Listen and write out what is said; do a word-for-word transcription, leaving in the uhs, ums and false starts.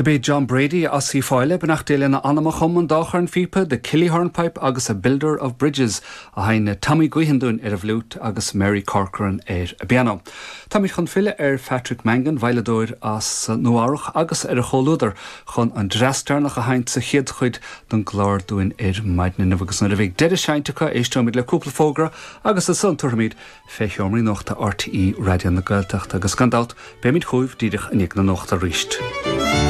Do b'é John Brady as Uíbh Fhailí beannacht Dé lena anam a chum an dá chorn phíopa The Killy Hornpipe agus a Builder of Bridges a sheinn Tommy Guihan dúinn ar an bhfliúit agus Mary Corcoran ar an bpianó. Táimid chun filleadh ar Patrick Mangan veidhleadóir as Nua-Eabhrac agus ar a chomhluadar chun an dreas deireanach a sheinnt sa chéad chuid den gclár dúinn ar maidin agus nuair a bheidh deireadh seinnte acu éisteoimid le cúpla fógra agus ansan tabharfaimid fé sheomraí nuachta RTÉ Raidió na Gaeltachta agus gan dabht beimid chugaibh díreach i ndiaidh na nuachta arís.